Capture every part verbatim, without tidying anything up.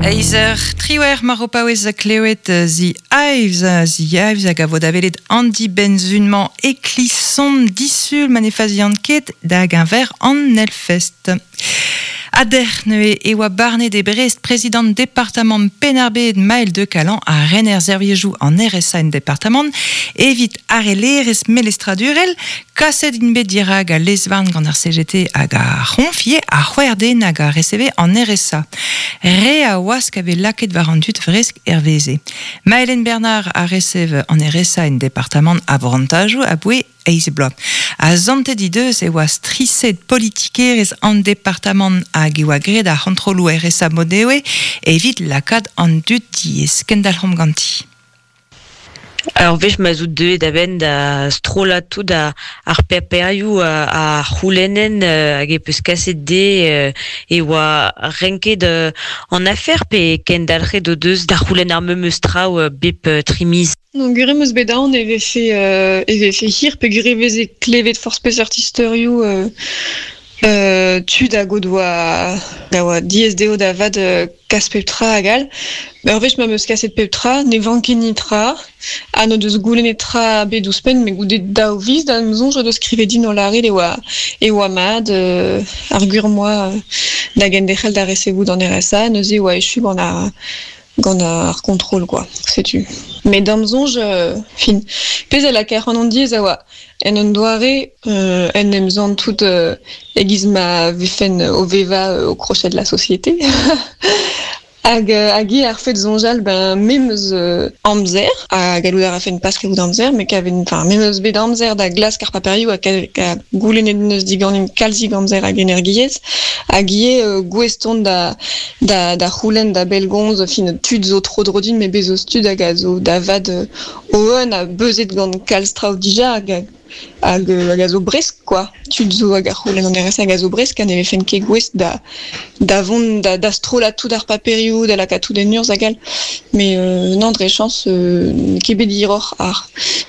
Eizh eur triwec'h mar ho paouez klevet The Hives, The Hives hag a vo da welet an dibenn-sizhun-mañ e Klison disul ma ne fazian ket da geñver an Hellfest. Ha dec'h neuze e oa barnet e Brest prezidant departamant Penn-ar-Bed Maël de Calan ha rener servijoù an R S A en departamant evit harellerezh melestradurel kaset int bet dirak al lez-varn gant ar C G T hag ar c'honf ivez ha c'hwec'h den hag a reseve an R S A. Re a wask a vez lakaet war an dud vresk herveze. Maëlen Bernard a resev an R S A en departamant a brantajoù aboe eizh bloaz. Ha santet he deus e oa striset politikerezh an departamant hag e oa graet ar c'hontrolloù R S A mod-nevez evit lakaat an dud diaes. Kendalc'homp ganti. Ur wech ma 'z out deuet a-benn da strollañ tout a, ar paperioù a, a c'houlennen hag e peus kaset dezhe e oa renket an afer pe kendalc'het o deus da c'houlenn ar memes traoù bep tri miz? Non, gwir eo 'm eus bet aon e vefe euh, e vefe hir peogwir e veze klevet forzh peseurt istorioù euh, euh, tud hag o doa da oa diaes dezho da vat euh, kas pep tra hag all. Ur wech ma 'm eus kaset pep tra, ne vanke netra, ha n'o deus goulennet tra bet ouzhpenn, met goude daou viz da 'm soñj o deus skrivet din o lâret e oa e oa mat euh, ar gwir 'm boa da genderc'hel da resevout an R S A, neuze e oa echu gant ar gant ar kontrol quoi, setu. Met d'am soñj euh, fin, pezh a lakaer an diaes a oa en un doare euh, en em santout euh, e-giz ma vefen o vevañ au crochet de la société. Hag hag eo ar fed soñjal ben me 'm eus amzer ha gallout a rafen pas kaout amzer met kaven enfin me 'm eus bet amzer da glask ar paperioù ha ka goulennet neus diganin kalzik amzer hag energiezh hag ivez gouest on da da da c'houlenn da bellgomz fin tud zo tro-dro din met bez zo tud hag a zo da vat o-un ha beuzet gant kalz traoù dija hag hag hag a zo bresk quoi. Tud zo hag a c'houlenn an R S A hag a zo bresk ha ne vefen ket gouest da da vont da da strollañ tout ar paperioù, da lakaat tout en urzh hag all. Met euh, nann dre chañs euh, n'eo ket bet hiroc'h ar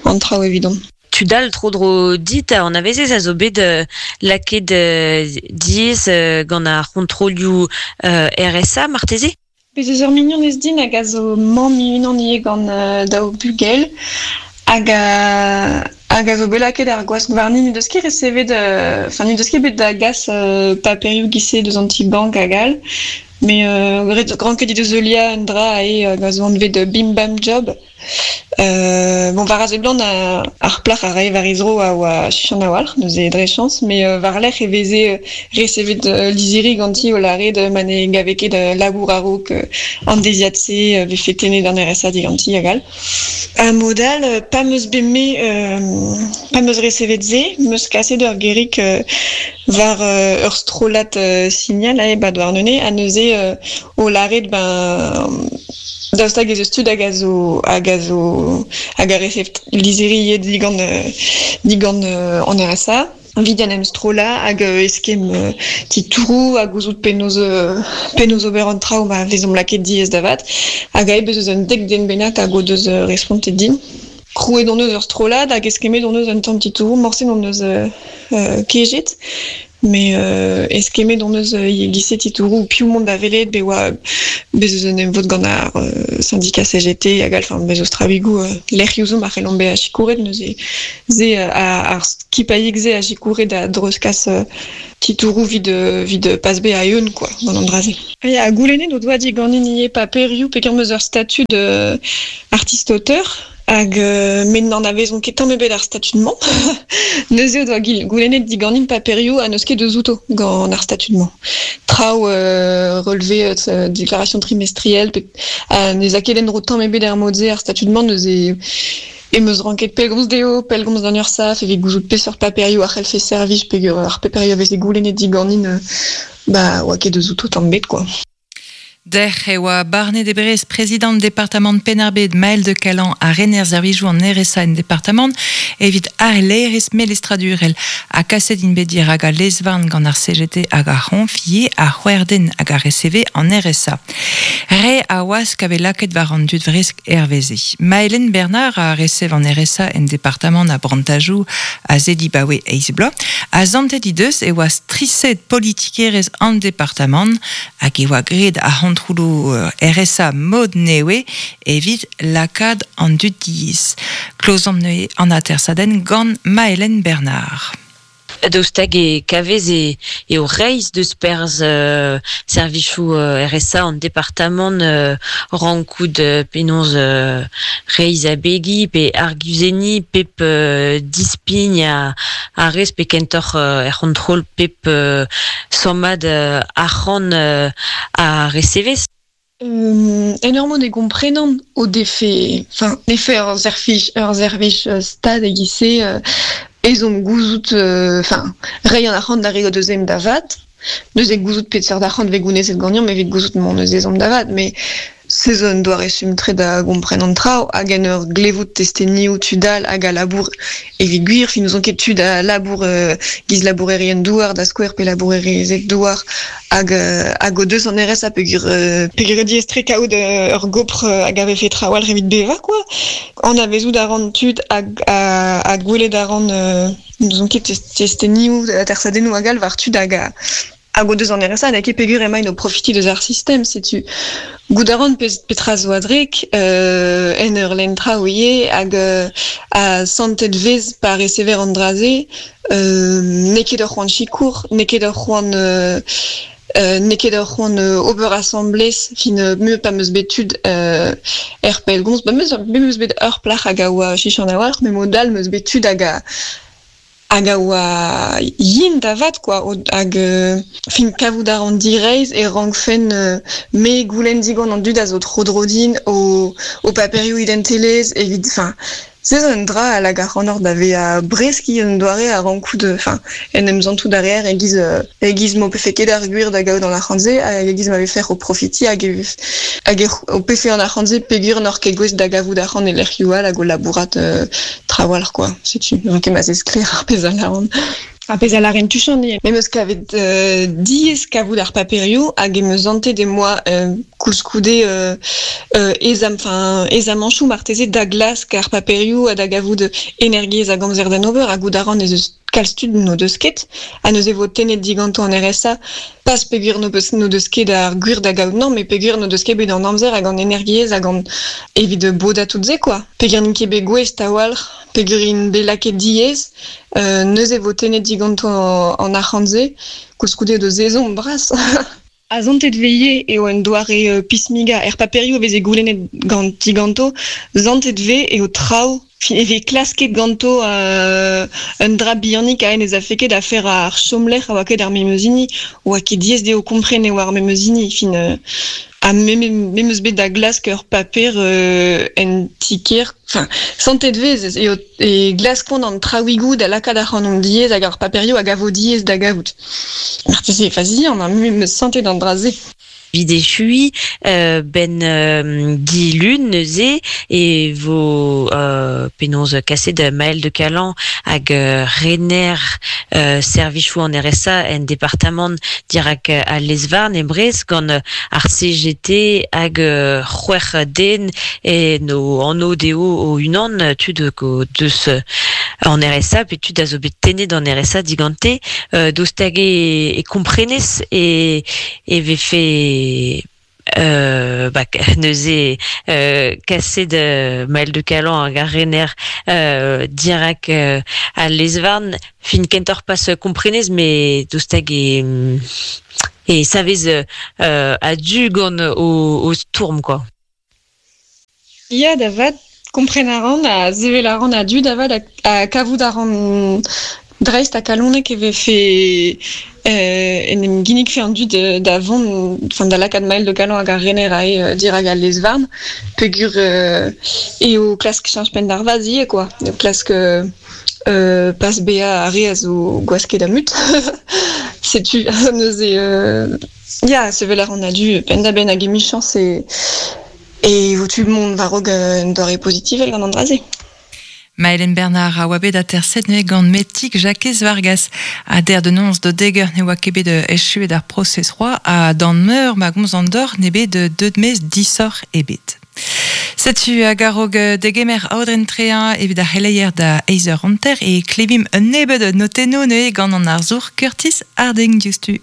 an traoù evidon. Tud all tro-dro dit a anavezez a zo bet euh, lakaet euh, diaes euh, gant ar c'hontrolioù euh, R S A marteze? Bez eus ur mignonez din hag a zo mamm unan ivez gant euh, daou bugel hag a hag a zo bet lakaet ar gwask warni n'he deus ket resevet enfin n'he deus ket bet da gas euh, paperioù giz-se deus an ti-bank hag all met euh, ranket he deus heuliañ un dra aze hag a zo anvet Bim Bam Job. Euh, bon war a seblant ar plac'h a rae war he zro a oa chichant a-walc'h neuze dre chañs met euh, war-lerc'h e veze resevet lizhiri ganti o lâret ma ne gave ket labour a-raok an deiziad-se vefe tennet an R S A diganti hag all. Ha mod all pa 'm eus bet me euh, pa 'm eus resevet se, 'm eus kaset ur gerig war ur strollad signal aze ba Douarnenez ha neuze o lâret ben daoust hag ez eus tud hag a zo hag a zo hag a resev lizhiri ivez digant digant an R S A evit en em strollañ hag eskemm titouroù hag gouzout penaos penaos ober an traoù ma vezomp lakaet diaes da vat hag aze bez eus un dek den bennak hag o deus respontet din. Krouet hon eus ur strollad hag eskemmet hon eus un tamm titouroù, morse n'hon eus kejet met euh, eskemmet hon eus e-giz-se titouroù piv mont da welet be oa bez eus un emvod gant ar syndicat C G T hag all enfin bez eus traoùigoù lec'hioù zo ma c'hellomp bezañ sikouret neuze se ar skipailhig-se a sikoure da dreuzkas titouroù evit evit pas bezañ a-eeun quoi gant an dra-se. Ya, goulennet o doa diganin ivez paperioù peogwir 'm eus ur statud artiste-auteur hag euh, met n'anavezont ket tamm ebet ar statud-mañ. Neuze o doa goulennet diganin paperioù ha n'eus ket deus outo gant ar statud-mañ. Traoù euh, relevé euh, déclaration trimestrielle pe ha ne za ket en-dro tamm ebet er mod-se ar statud-mañ neuze em eus ranket pellgomz dezho, pellgomz d'an URSSAF evit gouzout peseurt paperioù a c'hellfe servij peogwir ar paperioù a veze goulennet diganin ba oa ket deus outo tamm ebet quoi. Dec'h e oa barnet e Brest prezidant departamant Penn-ar-Bed Maël de Calan ha rener servijoù an R S A en departamant evit harellerezh melestradurel ha kaset int bet dirak al lez-varn gant ar C G T hag ar c'honf ivez ha c'hwec'h den hag a reseve an R S A. Re a wask a vez lakaet war an dud vresk herveze. Maëlen Bernard a resev an R S A en departamant a brantajoù a se dibaoe eizh bloaz ha santet he deus e oa striset politikerezh an departamant hag e oa graet ar kontrolou R S A mod newe evit lakad an dud diez. Klozomp neue an atersaden gant Maëlen Bernard. Daoust e kavez e, e o reiz deus perz euh, servichou euh, R S A an departamant euh, rankout euh, penaos euh, reiz a begi pe arguzeni pep euh, dispign a, a rez pe kentor euh, er c'hontrol pep euh, sommad euh, arc'hant euh, a recevez. Euh, énormément de comprenant au défait, enfin, défait ur zerfich, ur zervich euh, stad e gise euh, ezom gouzout, enfin, euh, rei an arc'hant da re o deus da vat, deus e gouzout pet seurt arc'hant ve gounezet ganeomp evit gouzout mont eus ezom da vat, mais se zo un doare sum-tre da gompren an traoù, hag en ur glevout testennioù tud all hag a labour evit gwir, fin n'ouzon ket tud a labour euh, giz labourerien douar da skouer pe labourerezed douar hag, euh, hag o deus an R S A peogwir, euh, peogwir eo diaes-tre kaout euh, ur gopr euh, hag a vefe trawalc'h evit bevañ, quoi. An avezout a ran tud hag, a, hag gwelet a ran, euh, n'ouzon ket testennioù, atersadennoù hag all war tud hag a hag o deus an R S A, hag e peogwir emaint o profiti deus ar sistem, setu gout a ran petra zo a-drek, euh, en ur lenn traoù ivez, hag euh, a santet vez pa recever an dra-se, euh, n'eo ket ur c'hoant sikour, n'eo ket ur c'hoant, euh, euh, n'eo ket ur c'hoant, euh, ober asamblez, fin, euh, me pa meus bet tud, euh, er pellgomz, ba meus, me meus bet ur plac'h hag a oa chichan a-walc'h, me mod all meus bet tud hag a hag a oa yin da vat, quoi, o, hag, euh, fin kavout a ran direizh e rankfen, euh, me goulenn digant an dud a zo tro dro din o, o paperioù identelezh evit, enfin, se zo un dra a lag ar c'hannor da vezañ breski un doare a rankout, enfin, en em zantout arrière e giz, euh, e giz m'o pefe ket ar gwir da gaout an arc'hant-se, hag e giz ma vefe o profiti hag e, hag e, o pefe an arc'hant-se peogwir n'oc'h ket gouest da gavout arc'hant e lec'hioù all hag o labourat, euh, trawalc'h, quoi. Setu, n'on ket ma sklaer ar pezh a lâran. Ar pezh a lâren tuchant ivez. Me 'm eus kavet, euh, diaes kavout ar paperioù hag em eus zantet e moa, euh, koulskoude, euh, euh, ezam, enfin, ezamanchoù marteze da glask ar paperioù ha da gavout energiezh hag amzer d'an ober hag gout a ran ez eus kalz tud n'o deus ket, ha neuze vo tennet diganto an R S A, pas peogwir n'o peus, n'o deus ket ar gwir da gaout non, mais peogwir n'o deus ket bet an amzer hag an energiezh hag an evit bodañ tout se, quoi. Peogwir n'int ket bet gouest a-walc'h, peogwir int bet lakaet diaes, euh, neuze vo tennet diganto an, an arc'hant-se, koulskoude deus ezhomm bras. A zantet veie eo un doare, euh, pismiga er paperioù a veze goulennet gant diganto, zantet ve eo traoù, fin, e vez klasket ganto, euh, un dra bihanik a en ez a feket a fer ar chomlec'h a oa ket ar memeuzini, oa ket diaes dezho kompren eo ar memeuzini, fin, euh, a me, me, me meus bet da glask ur paper, euh, en tiker, enfin, santet vez eo, e glaskont an traouigoù da lakaat ar c'hanon diaes hag ar paperioù hag a vo diaes da gavout. Marteze e fazi, an a me meus santet an dra-se. Vid echui, euh, ben, euh, dilun neuze e vo, euh, penaos kaset da Maël de Calan hag, euh, rener, euh, servichou an R S A en departamant dirak a Lezvarn e Brest gant ar C G T hag, euh, c'hwec'h den e no anno dezho o unan tud go deus an R S A pe tud a zo bet tennet an R S A digante, euh, daoust hag e, e komprenez e, e vefe Euh, bah, neuze, euh, kaset de Maël de Calan hag ar rener, euh, dirak, euh, a Lezvarn, fin kentor pas komprenez, mais daoust hag e, e savez, euh, a du gant o, o stourm, quoi. Ya, da vat, kompren a ran, a zevel a ran a du, da vat, a, a kavout a ran dreist a kalonek e vefe, euh, en em ginnig fe an dud da vont, enfin, da lakaat Maël de Calan hag ar rener a e, euh, dirak al Lezvarn, peogwir, euh, eo klask cheñch penn d'ar vaz ivez, quoi. Eo klask, euh, euh, pas bezañ ar re a zo gwasket a mut. Setu, neuze, euh, ya, sevel a ran a du penn-da-benn hag emichañs e, e vo tu mont war-raok un doare pozitivel gant an dra-se. Maëlen Bernard a oa bet aterset neuze gant Metig Jakez Vargas. A der de nonz de deger ne oa ket bet echuet ar prosez roa a dan meur ma gomz an dor ne bet de deud mez disoc'h ebet. Setu hag a-raok degemer aodren treañ evit ar c'heleier da eizh eur hanter e klevimp un nebeud notennoù neuze gant an arzour Curtis Harding diouzhtu.